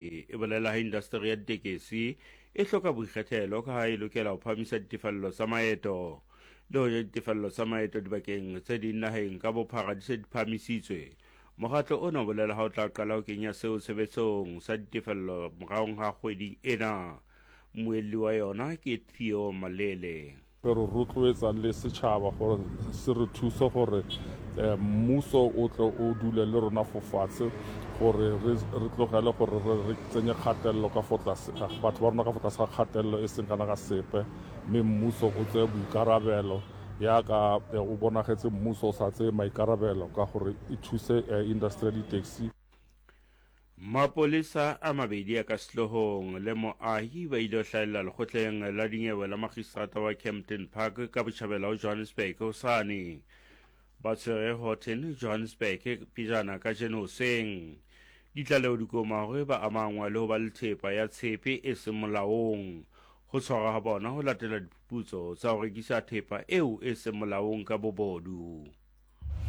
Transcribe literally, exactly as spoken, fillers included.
E bolela ha indasteri ya ditekesi e hloka boikgethelo ka ha e lokela ho phahamisa ditefello tsa maeto. Le hoja ditefello tsa maeto dibakeng tse ding naheng ka bophara di se di phahamisitswe, mokgatlo ona o bolela ha o tla qala ho kenya seo tshebetsong sa ditefello moraong ha kgwedi ena. Mmuelli wa yona ke Theo Malele. Re rotloetsa le setšhaba gore se re thuse gore mmuso o tle o dule le rona fo fatshe, gore re tlogele gore re tsenye kgatelelo ka fo tlase, batho ba rona ka fo tlase ga kgatelelo e seng kana ka sepe, mme mmuso o tseye boikarabelo yaka o bonagetse mmuso o sa tseye maikarabelo ka gore e thuse industry ya di-taxi. Mapolesa a mabedi a ka sehloohong le moahi ba ile ho hlahella lekgotleng la dinyewe la makgistrata wa Kempton Park ka botjhabela ho Johannesburg hosane. Ba tshwere Horton, Johannesburg pejana kajeno hoseng. Ditlaleho di koma hore ba amangwa le ho ba le thepa ya tshepe e seng molaong. Ho tshwarwa ha bona ho latela diphuputso tsa ho rekisa thepa eo e seng molaong ka bobodu.